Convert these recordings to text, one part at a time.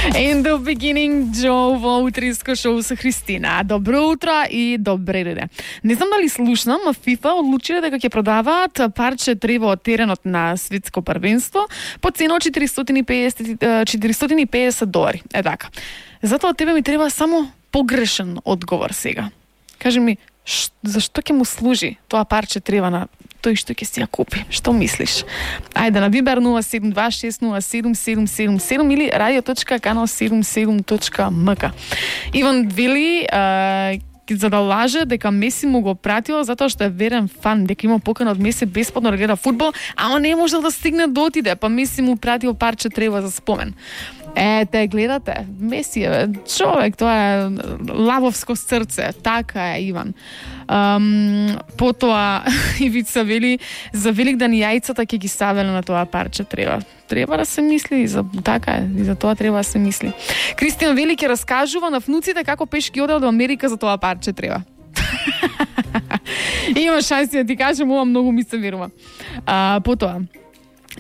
In the beginning, Joe во утринско шоу со Христина. Добро утро и добре дојде. Не знам дали слушнам, а FIFA одлучиле дека ќе продаваат парче трева од теренот на светско првенство по цена од $450. Е така. Затоа тебе ми треба само погрешен одговор сега. Кажи ми, зашто ќе му служи тоа парче трева на тој што ќе си ја купи? Што мислиш? Ајде на Viber 072607777 или radio.kanal77.mk. Иван вели за да лаже дека Меси му го пратил затоа што е верен фан, дека има покана од Меси бесплатно да гледа фудбал, ама не можел да стигне да отиде, па Меси му пратил парче трева за спомен. Те гледате, Меси е човек, тоа е лавовско срце, така е, Иван. Потоа Ивица вели за Великден јајцата ќе ги ставеле на тоа парче трева. Треба да се мисли, за така е, и за тоа треба да се мисли. Кристијан вели ќе раскажува на внуците како пешки одел до Америка за тоа парче трева. Има шанси да ти кажам, ова многу ми се верува. Потоа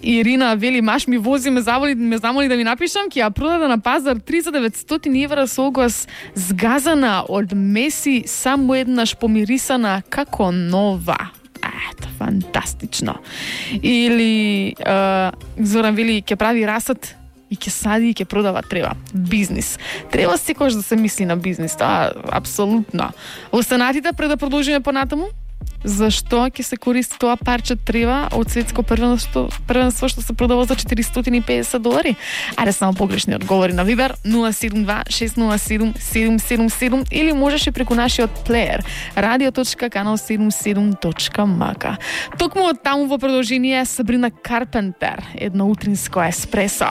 Ирина вели, маш ми вози, ме замоли да ви напишам, ќе ја продаде на пазар 3.900 евра со огас згазана од Меси, само еднаш помирисана како нова. Ето, фантастично. Или Зоран вели, ќе прави расад и ќе сади и ќе продава трева. Бизнис. Треба секогаш да се мисли на бизнис, тоа апсолутно. Останатите пред да продолжиме понатаму? Зашто ќе се користи тоа парче трева од светско првенство што се продава за $450? Ајде само погрешни одговори на Viber 072607777 или можеш и преку нашиот плеер radio.kanal77.mk. Токму од таму во продолжение Сабрина Карпентер, едно утринско еспресо.